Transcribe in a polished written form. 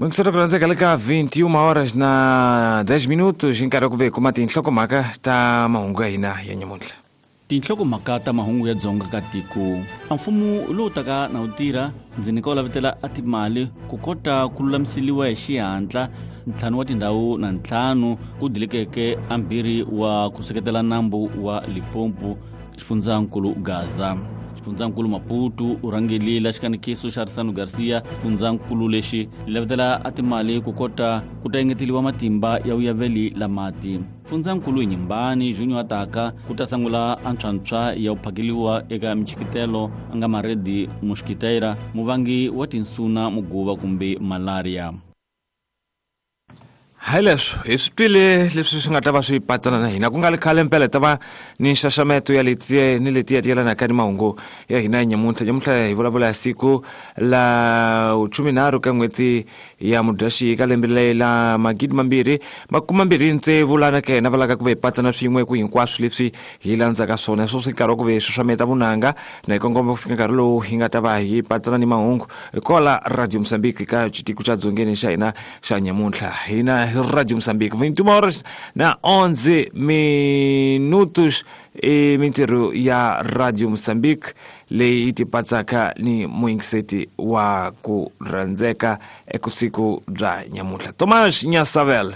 Muyingiseri ku rhandzeka le ka 21 horas na 10 minutos hi nkarhi wa ku ve hi kuma tinhlokomhaka ta mahungu ya hina ya nyamuntlha. Tinhlokomhaka ta mahungu ya dzonga ka tiko. A mfumo lowu taka na wu tirha ndzi nyika wu lavetela a timali ku kota ku lulamiseliwa hi xihatla ntlhanu wa tindhawu na ntlhanu ku dilikeke a mbirhi wa ku seketela nambu wa Limpopo xifundzankulu Gaza. Xifundzankulu Maputo u rhangelile xikanekiso xa Risano Garcia xifundzankulu lexi lavetela a timali ku kota ku ta engeteliwa matimba ya vuyaveli la mati. Xifundzankulu Inyimbani Junior ataka ku ta sangula antshwantshwa ya ku phakeliwa eka michikitelo a nga Maredi Muxikiteira muvangi wa tinsuna muguva kumbe malaria. Hi leswo hi swi twile leswi swi nga ta va swi patsana na hina ku nga ri khale mpela hi ta va ni nxaxameto ya leti ni leti ti yelanaka ni mahungu ya hina ya nyamuntlha. Nyamuntlha hi vulavula hi siku la 13 ka n'hweti ya Mudyaxihi ka lembe le la 2026 lana ka hina va laka ku va hi patsana swin'we ku hinkwaswo leswi hi landzaka swona sweswi nkarhi wa ku ve hi xaxameta vunanga na hi kongoma ku fika nkarhi lowu hi nga ta va hi patsana ni mahungu kwala Radio Mozambique ka xitiko xa dzongeni xa hina xa nyamuntlha. Hina hi Radio Mozambique 21 horas na 11 minutos i mintirho ya Radio Mozambique leyi yi tipatsaka ni muyingiseti wa ku rhandzeka ekusiku bya nyamuntlha. Thomas Nyasavel.